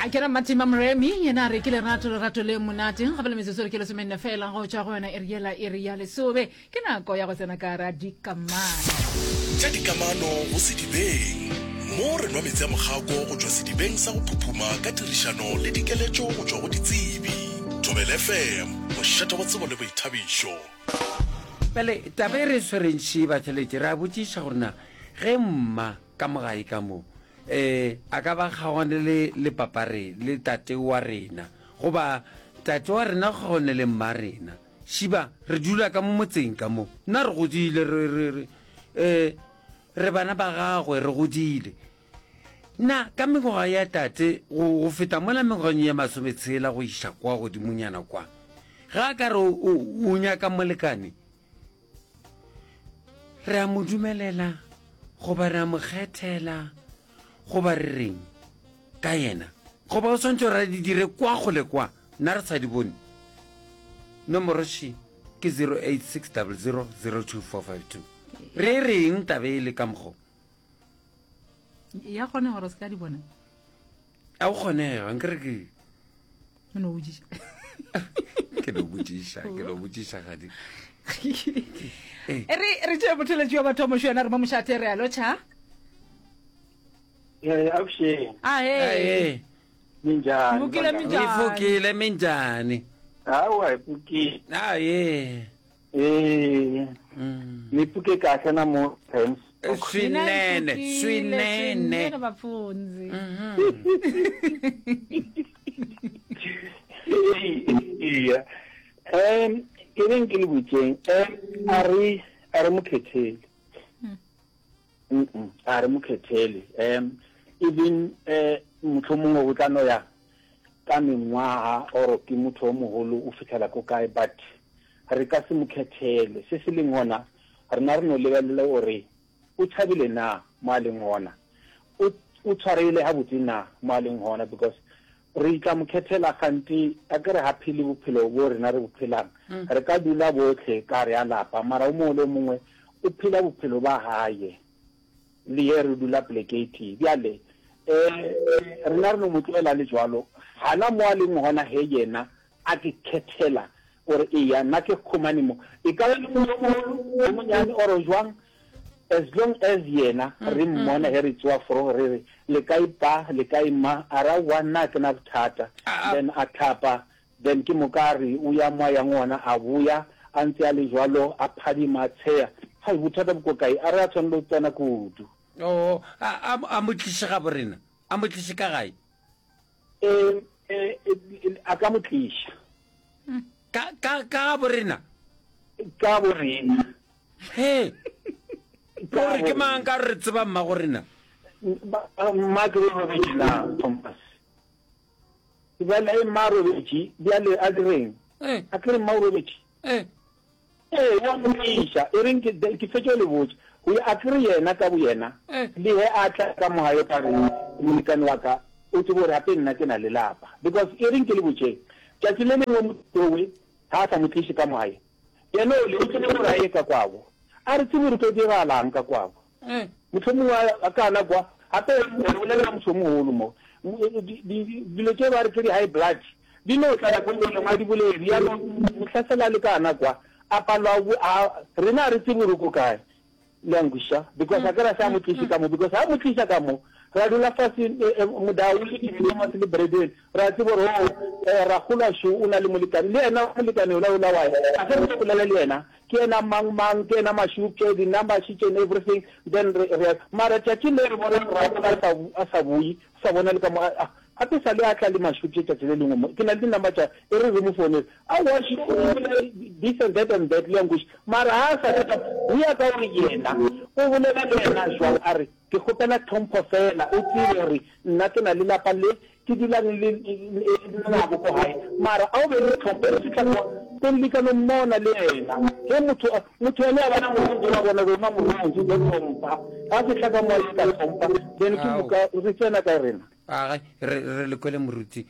Ya, ke ra Matima Moremi, yena a re ke lerato, lerato le monate. Gape le metsotso re ke lesomenne fela go tšwa go yona iri yela iri ya lesobe. Ke nako ya go tsena ka ra dikamano. Tša dikamano go sedibeng. Mo re nwa meetse a mokgako go tšwa sedibeng sa go phuphuma ka tirišano le dikeletšo go tšwa go ditsebi. Thobela FM, mošate wa tsebo le boithabišo. Bjale taba e re e swereng še batheletši, re a botšiša gore na ge mma ka mo gae ka mo um a ka ba kgaogane le le papa re le tate wa rena goba tate wa rena o kgaogane le mma rena šiba re dula ka mo motseng ka mo nna re godile re re re um re bana ba gagwe re godile na ka mengwaga ya tate go go feta mola mengwageng ya masometshela go iša kwa godimonyana kwa ga a ka re o nyaka molekane Re a mo dumelela goba re a mo kgethela goba re reng ka yena? Goba o swantše gore a di dire kwa kgole kwa, nna re sa di bone? Nomoro še ke 0860002452. Re reng taba e le ka mokgo? Ya kgone gore o se ka di bona. A o kgonega, nkere ke O no botšiša. Ke no botšiša, ke no botšiša gadi. Eh. Re re tšee motheletši wa batho mošo yena re mo mošate re a lotšha. Eh, avuxeni. Ah, eh. Minjhani? Vukile minjhani? Hi pfukile minjhani? Hawa hi pfukile. Ah, ye. Eh. Mm. Ni pfuke kahle namuntlha hi Swinene, swinene. Swinene bapfundzi. Iya. Um ke reng ke le botšeng um a re a re mo khethele. Mm a re mo khethele. Um even eh mohlomongwe go tla no ya ka mengwaga or ke motho o mogolo o fitlhela ko kae but re ka se mo khethele. Se se leng gona, rena re no lebelela gore o thabile na mo a leng gona, o, o tshwaregile gabotse na mo a leng gona, because re tla mo khethela kgante a ke re ga phele bophelo bo rena re bo phelang. Re ka dula bohle ka gare ga lapa, mara o mongwe le o mongwe o phela bophelo ba gaye. Le ye re dula poleke e tee. Bjale, um rena re no mo tlogela a le jwalo. Gana mo a leng gona ge yena a ke khethela gore eya nna ke khumane mo, e ka ba le motho yo mogolo, yo monyane or jwang, as long as yena re mmona ge re tsoa fro re re le kae pa, le kae ma, a re aowa nna ga ke na bothata, then a thapa, then ke moka a re o ya mo a yang gona, a boya a ntse a le jwalo, a phadima, a tsheya. Hai, bothata bo ko kae? A re a tshwanela go tsena kudu. Oo, a, a, a mo tliše gabo rena, a mo tliše ka gae. E, e, e, a ka mo tliša. Ka, ka, ka gabo rena? Ka bo rena. He. Gore ke mang ka re tseba mma go rena? Mma ke robetše na, Thomas. Bjale e mma robetše, bjale a direng? A ke re mma o robetše? Ee, o a mo tliša. E reng ke, ke fetše go le botša. Go ya, akere yena ka boyena, le ge a tla ka mo gae ka re, Molekane wa ka, o tsebe gore gape nna ke na le lapa. Because, e reng ke le botšeng, tšatši le lengwe motho ga a sa mo tliše ka mo gae, yena ole o tsebe gore a ye ka kwabo. A re tsebe gore tlo diragalang ka kwabo. Mohlomongwe a ka na kwa. Gape re bolela motho o mogolo mo. Dilo tše ba re ke di-high blood di no tla nako nngwe le nngwe, a di bolele. Bjalo mohlasela a le ka na kwa, a palwa, a, rena a re tsebe gore o ko kae. Le a nkwešiša? Because a ke ra se a mo tliše ka mo, because ha mo tliša ka mo, ra dula fase, Modau le Jimmy Thomas le Bradwell, ra tseba gore, oh, rakgolo šo o na le molekane. Le yena molekane yola yola wa, a ge re tlo bolela le yena, Ke yena mang mang, ke yena Mashupje, di number sheets and everything, then re, re, mara tšatši le re bona Rrago a sa, a sa boyi, sa bona le ka mo, a, gape sa le a tla le Mashupje tšatši le lengwe mo, ke na le di number tša, e re re mo founele, aowa she, o bolela this and that and that, le a nkwešiša, mara ha a sa tla, go ya ka gore yena o bolela le yena jwang, a re, Ke kgopela tlhompho feela, o tsebe gore nna ke na le lapa le ke dulang le nabo ko gae. Mara a o be le tlhompho, re fihla kwa ko leka no mmona le yena. Ge motho, motho ene a bona morwedi wa bona rona morwedi o tlo tlhompha. Ga fihla ka mo a ka tlhompha, then ke moka re tsena ka rena. Agai, re, re le kwele moruti.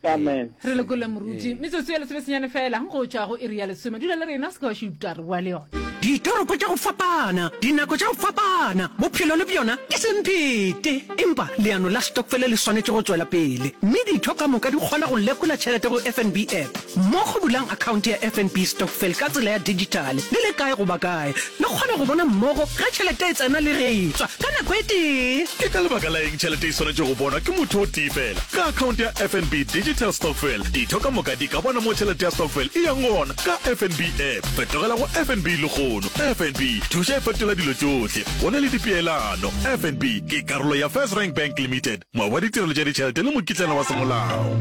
Amen. Re le kwele moruti. Metsotso ya lesomesenyane fela go tšwa go iri ya lesome. Dula le rena, se ke wa šuta, re boa le yona. Ditoropo tša go fapana, dinako tša go fapana, bophelo le bjona ke semphete. Empa leano la stokfele le swanetše go tšwela pele, mme ditho ka moka di kgona go lekola tšhelete go FNB app. Mmogo bulang akhaonte ya FNB Stokvel ka tsela ya dijithale le le kae goba kae. Le kgona go bona mmogo ge tšhelete e tsena le ge e tšwa ka nako e tee. Ke ka lebaka la eng tšhelete e swanetše go bonwa ke motho o tee fela? Ka akhaonte ya FNB Digital Stokvel, ditho ka moka di ka bona mo tšhelete ya stokvel e yang gona ka FNB app. Fetogela go FNB lehono. FNB, thuša e fetola dilo tšohle. Go na le dipeelano. FNB ke karolo ya FirstRand Bank Limited, moabi wa ditirelo tša ditšhelete le mokitlana wa semolao.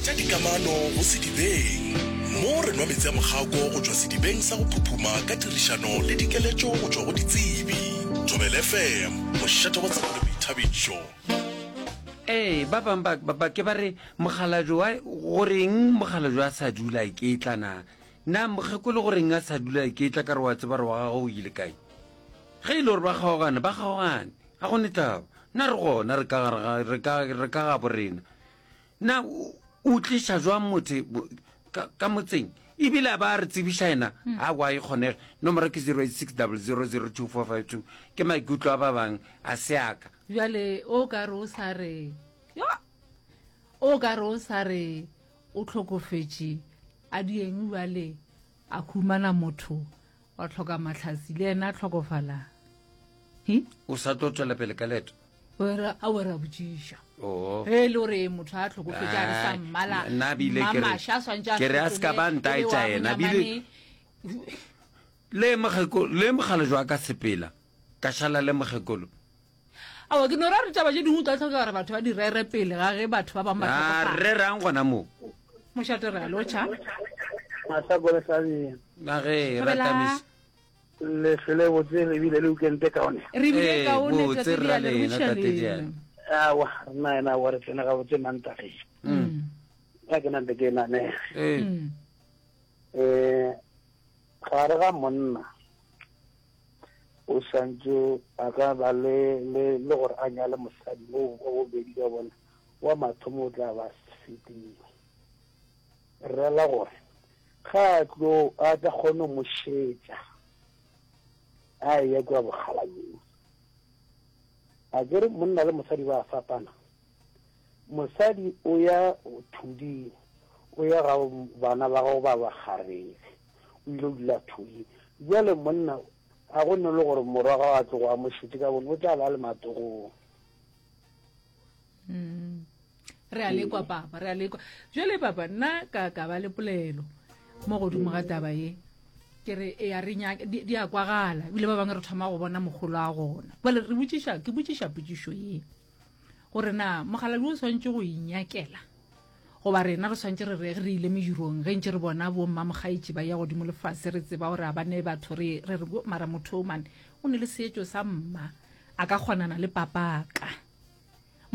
Tša dikamano go sedibeng. Mo re nwa meetse a mokgako go tšwa sedibeng sa go phuphuma ka tirišano le dikeletšo go tšwa go ditsebi. Thobela FM, mošate wa tsebo le boithabišo. Ee, ba bang ba, ba, ba ke ba re mokgalabje wa, goreng mokgalabje a sa dula iketla na? Na mokgekolo goreng a sa dula iketla ka re wa tseba re wa gagwe o ile kae? Ge e le gore ba kgaogane, ba kgaogane, ga go ne taba. Na re gona re ka gare ga, re ka, re ka gabo rena. Na o tliša jwang motho ka, ka motseng? Ebile a ba a re tsebiša yena, hmm. a wa e kgonege. Nomoro ke 0860002452. Ke maikutlo a ba bang, a se aka. Bjale o ka re o sa re, yo, o ka re o sa re o hlokofetše, a dieng bjale a humana motho wa tlhoka mahlatsi le yena a tlhokofala. Hi? O sa tlo tšwela pele ka leeto? A o ra botšiša. Oh. Ge e le gore motho a tlhokofetše a re sa mmala. Nna bile ke re ke re a se ka ba ntaetša yena bile le mokgekolo le mogala jwa ka sepela ka šala le mokgekolo. Aowa ke no ra re taba tše dingwe o tla tlhoka gore batho ba di rere pele ga ge batho ba bangwe ba tlhokofala. Rerang gona moo. Mošate re a lotšha. Mahlakore Hlabeng. Na ge Thobela. Le hlwele botse le bile le weekend e kaone. Re bile Ee, kaone botse tate rra Diale, re lena buša tate lena. Diale. Awa, rena ena wa re tsene gabotse Mantageng. Mm. Ga ke nante ke nane. Ee. Mm. Eh gare ga monna o santse a ka ba le le le gore a nyale mosadi o wa bobedi ka bona wa mathomo o tla ba fetile. Rela gore Ga a tlo, a tla kgone go mo šetša a eya kua bokgalabjeng. A ke re monna le mosadi ba a fapana. Mosadi o ya thuding, o ya ga bana ba gago ba bakgarebe, o ile dula thuding. Bjale monna a go ne le gore morwa gago a tlogo a mo šetše ka bone, o tla ba le matogong. Mm. re a lekwa papa re a lekwa jale papa nna ka ka ba le polelo mo godimo ga taba ye ke re e a re nyaka di a kwagala ebile ba bangwe re thoma go bona mogolo a gona bale re botšiša ke botšiša potšišo ye gore na mogaladi o swanetše go inyakela goba rena re swanetše re re re ile medirong ge ntše re bona bo mmamogaetši ba ya godimo lefase re tseba gore a ba ne batho re re re mara motho o mane o ne le seetšo sa mma a ka kgonana le papaka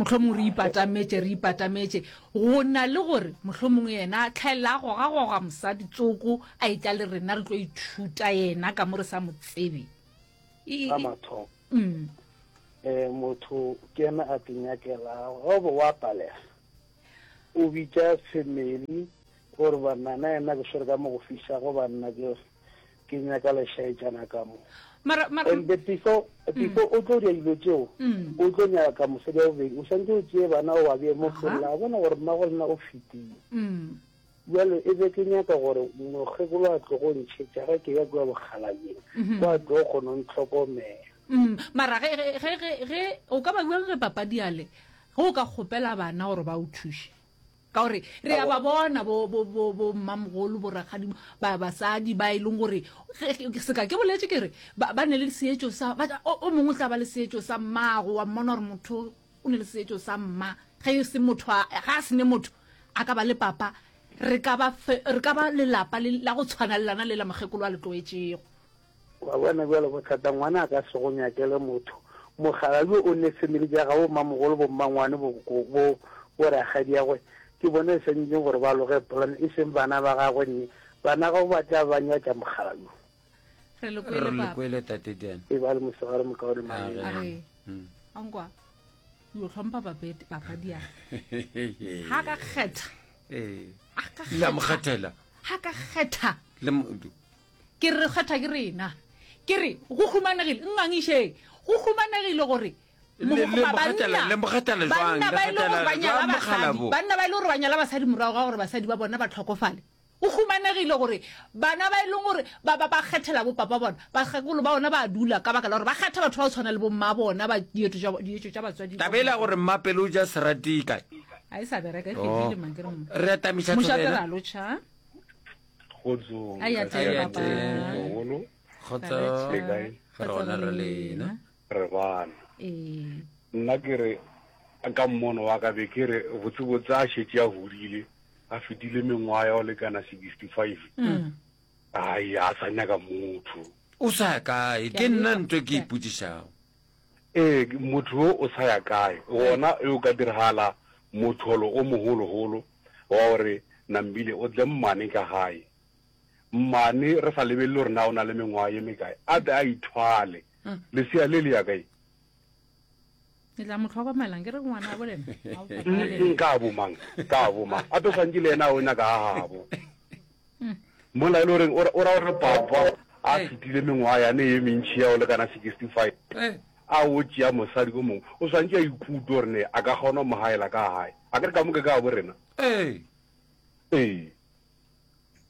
Mohlomongwe re ipatametše, re ipatametše, go na le gore mohlomongwe yena a tlhaelela a gogagoga mosadi tsoko a etla le rena re tlo ithuta yena ka mo re sa mo tsebe. Sa mathomo, um motho ke yena a te nyakelago, ge o be wa palega o bitša family gore banna na yena ke swere ka mo go fišago banna ke ke nyaka lešaetšana ka mo. Mara, mara, And the before, before o tlo dira dilo tšeo, o tlo nyaka mosadi wa bobedi, o swanetše o tšee bana o ba bee mo fella, a bona gore mmago lena o fetile. Bjale e be ke nyaka gore mokgekolo a tlogo ntšhetša ge ke ya kua bokgalabjeng, kwa tlo kgona go ntlhokomela. Mara ge, ge, ge, ge, ge, o ka ba bjang ge papadi ale, ge o ka kgopela bana gore ba o thuše? Ka gore re a ba bona bo, bo, bo, bo mmamogolo, bo rakgadi, ba, basadi ba e leng gore, seka ke boletše ke re, ba, ba ne le seetšo sa, ba, o, o mongwe o tla ba le seetšo sa mmago, wa mmona gore motho o ne le seetšo sa mma. Ge e se motho, a, ga a se ne motho, a ka ba le papa, re ka ba, re ka ba lelapa le, la go tshwana le lana le la mokgekolo a le tloetšego. Wa bona bjale bothata, ngwana a ka se go nyakele motho. Mogala yo o ne family tša gabo mmamogolo bo mmangwane bo bo bo rakgadiagwe ke bona e swanetšeng gore ba loge plan e seng bana ba gagwe nne bana gabo ba tla ba nyatša mogala yo. Re le Re kwele le papa. kwele tate Dan. E ba le mosegare mokaone A maele. re ankwa yo hlompha papete papadi ya ha ka kgetha Ee. a ka La mo kgetha kgethela. ha ka kgetha Le mo- Ke re re kgetha ke rena. Ke re go humanegile, nngangišeng, go humanegile gore Le- le mo kgethela- le mo kgethela jwang? banna Le ba e le gore kgethela ba nyala jwang basadi, mokgalabo? banna ba e le gore ba nyala basadi morago ga gore basadi ba bona ba tlhokofale. Go humanegile gore bana ba e leng gore ba ba ba kgethela bo papa bona, bakgekolo ba bona ba a dula ka baka la gore ba kgetha batho ba go tshwana le bo mma bona ba dietšo tša dietšo tša batswadi. Taba e la gore mmapele o ja serati e kae? A e sa bereka e Oh. fedile man ke re mo. Re atamiša Mošate thobela. ra lotšha. Kgotsong. A ya teng, Ka papa. Mogolo. Kgotso. Le kae? Re gona re lena. Re bana. Ee. Nna ke re ka mmono wa ka be ke re botsebotse a šetše a godile a fetile mengwaga ya go lekana 65 Mm. ai a sa nyaka motho O sa ya kae? Ke nna ntho e ke ipotšišago. ee motho yo o sa ya kae gona e o ka diragala motholo o mogologolo wa gore Nambile o tle mmane ka gae. Mmane re sa lebelele gore na o na le mengwaga ye mekae, a tle a ithwale. Lesea le le ya kae? Le tla mo hlokomela, nke re ngwana bo lena. Ka bo mang? Ka bo mang? Ape swantše le yena o nyaka ga gabo. Mola e le goreng o ra gore papa a fetile mengwaga yane ye mentši ya go lekana 65 a o tšea mosadi o mongwe, o swantše a ikutlwe gore ne a ka kgona go mo gaela ka gae. A ke re ka moka ka bo rena? Ee. Ee.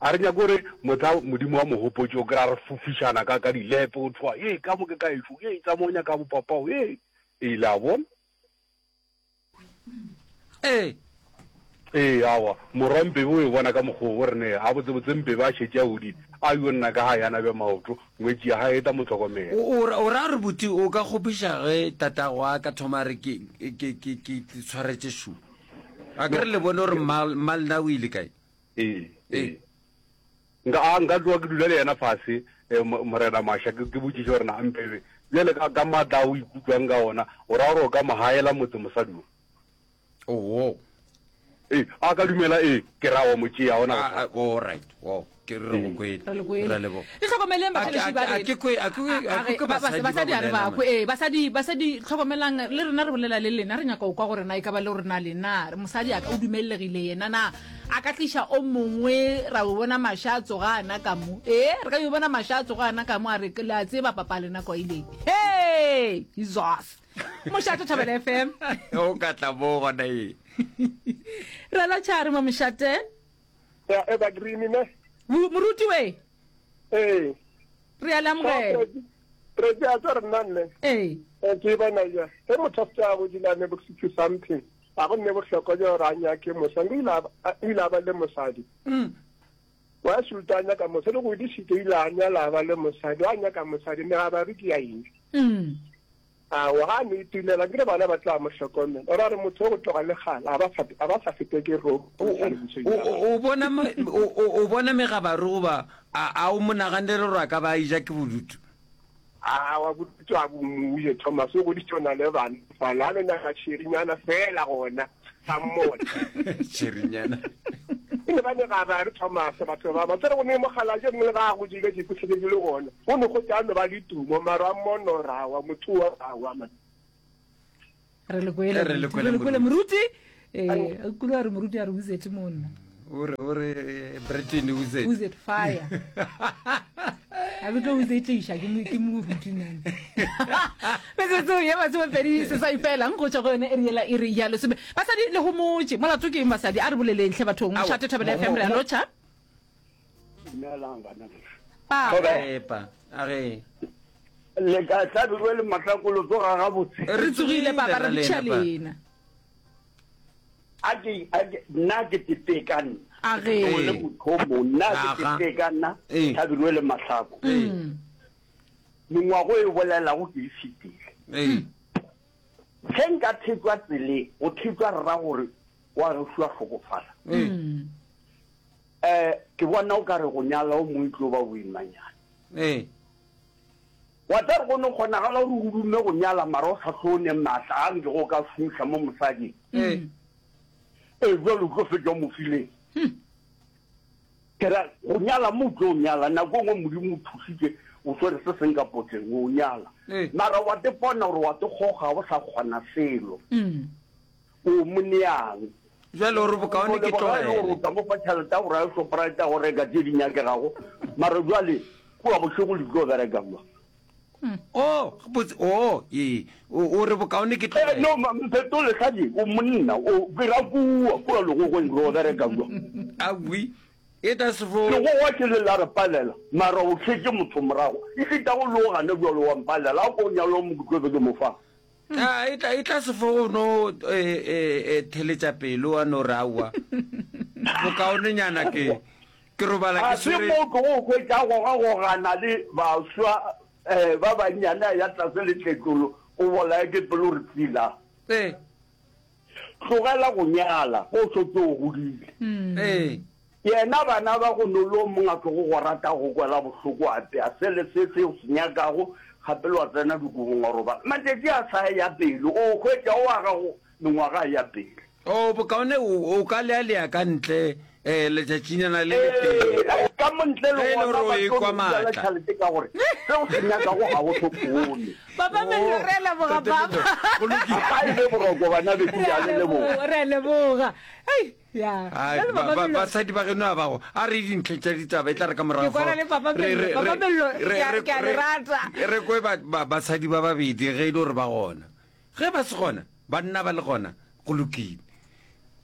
A re nyake gore mohla Modimo wa mogopotše o kry-a re fofišana ka, ka dilepe, o thwa, Ee, ka moka ka ešo, ee, tsamaya o nyaka bopapao, ee. Ee, le a bona? Ee. Ee, aowa, morwa Mpebe o e bona ka mokgwa wo, o re ne, gabotsebotse Mpebe a šetše a godile, a yo nna ka gae a nabe maoto, ngwetši ya gae e tla mo hlokomela. O, o, o ra gore buti o ka kgopiša ge tatago a ka thoma a re ke, ke, ke, ke tshwaretše šo? A ke re le bone gore mma, mma lena o ile kae? Ee, ee. Nka, a nka tloga ke dula le yena fase, eh, Morena Masha, ke, ke botšiše gore na Mpebe, bjale ka, ka maatla a o ikutlwang ka ona, o ra gore o ka mo gaela motse mosadi wo? Oo. Ee, a ka dumela, ee, ke ra wa mo tšea, ona A, a, all right, wow, ke re re go kwele. Re le kwele. Re a leboga. Le hlokomeleng A ke- batheletši a ba ke- a rena. ke kwe- a ke kwe- a A- a ke re, kwe ba- ba- basadi ba basadi a re bolela, ba man. kwe. Ee, basadi, basadi hlokomelang, le rena re bolela le lena, re nyaka go kwa gore na e ka ba le gore na lena mosadi a ka o dumellegile yena na a ka tliša o mongwe ra o bona maša a tsoga ana ka mo. Ee, re ka yo bona maša a tsoga ana ka mo a re le a tseba papa lena kwa ileng. Hey, Jesus. Mošate Thobela FM. O ka tla mo gona ee. Re la tšhare mo mošate. Ya Evergreen ne. Moruti we. Ee. Re a le amogela. Re ke a tsa re nna nne. Ee. Ke bona ja. Ge motho a se a godile a ne bo 60 something. A go nne bohlokwa ja gore a nyake mosadi. O ile a o ile a ba le mosadi. Mm. Wa šuta a nyaka mosadi go godisitse o ile a nyala a ba le mosadi. Wa nyaka mosadi mme ga ba re ke ya eng. Mm. Aowa, ga a no itulela, nkile bana ba tla mo hlokomela. O ra re motho o go tloga le kgale, a ba sa, a ba sa fetwe ke ropo O, o, o, o, o bona, o, o, o bona megabaru goba a, a o mo naganele gore a ka ba a eja ke bodutu? Aowa, bodutu a bo mo je, Thomas. O goditše o na le bana fale, a no nyaka tšherinyana feela gona, a mmone. Tšherinyana. E ne ba megabaru, Thomas, batho ba, ba tsere go ne mokgalabje mongwe le ga a godile, ke hlokofetše le gona. Go no go tla no ba le tumo, maro a mono ra wa, motho wa ra wa man. Re le kwele, Re le kwele, re le kwele moruti. moruti. Eh, o kule a re moruti a re wizard monna. O re, o re, eh, Britain wizard. Wizard fire. A ke tlo wizard tliša ke mo ke moruti nana. Metsotso ye masomepedi seswai fela go tšwa go yone iri yela iri ya lesome. Basadi le homotše. Molato ke eng basadi? A re boleleng hle bathong. Aowa, Mošate Thobela mo- FM re a mo- lotšha. Dumelang bana bešo. Papa. Epa, a re. Le ka hlabirwe le mahlakolo tsoga gabotse. Re tsogile papa re ra bitša lena, pa. lena. A ke a ke nna ke tete ka nna. A ge. O le motho o mong nna ke Aga. tete ka nna Ee. hlabirwe le mahlako. Ee. Mengwago e bolelago ke e fetile. Ee. Ge nka thetšwa tseleng, go thetšwa rra gore wa gešo a hlokofala. Ee. Eh, ke bona o ka re go nyala o mongwe e tlo ba boimanyana. Ee. Wa tla re go no kgonagala gore o dume go nyala mara o sa tlo ne maatla a nke go ka šomiša mo mosading. Ee. Ee, jwale o tlo fetša o mo fileng. Ke ra go nyala mo o tlo nyala, nako e nngwe Modimo o thusitše o swere se seng ka potleng o nyala. Ee. Mara wa te pona gore wa te goga o sa kgona selo. O mo neang? Bjale o re bokaone ke Leboga e le gore tlogele. o tla mo fa tšhelete ya gore a ye Shoprite a go reka tše di nyakegago, mara bjale. Kua bošego le tlo bereka bjang? Oh, botse, oh, ee, o, o re bokaone ke Eh, tlogele. no, ma- Mphetole, hladi, o monna, o, ke ra kua, kua legogweng re o bereka bjang? Aowi, e ta se fo. Legogwa ke le la re palela, mara o šetše motho morago. E šita go le o gane bjalo wa mpalela, a ko o nyale o mo ke tlo be ke mo fang. A, e tla, e tla se fo go no e, e, e, theletša pelo wa no re aowa. Bokaonenyana ke, ke robala Ga ke se swere. mo o tlogo o hwetša a gogagogana le baswa um ba bannyane a ya tlase le tletlolo, o bolaye ke pelo re tsila. Ee. Tlogela go nyala ge o šetše o godile. Ee. Yena bana ba go no le o mongwe a tlogo go rata go kwela bohloko a apea se le se se o se nyakago gape le wa tsena dikobong wa robala. Matšatši a sa ya pele o hwetša o a gago mengwaga e ya pele. O bokaone o, o ka lealea ka ntle eh, letšatšinyana le letee. Ee, ka mo ntle le Ge e le gona gore o ba tlo ekwa no bjala maatla. tšhelete ka gore se o se nyakago ga o se kgone. Papa Mello, re a leboga Tate papa. Mello, go lokile. A e be boroko bana bešu, Re ke a a le leboga. leboga, re a leboga. Hei, ya. Ai, Bjale ba- Papa ba- Mello, basadi ba geno a bago a re dintlheng tša ditaba e tla re ka morago Ke kwana fao, le Papa re- Mello. re- Papa re- Mello, re- ke a- re- ke a le re- rata. re kwe ba- ba- basadi ba babedi ge e le gore ba gona ge ba se gona banna ba le gona go lokile.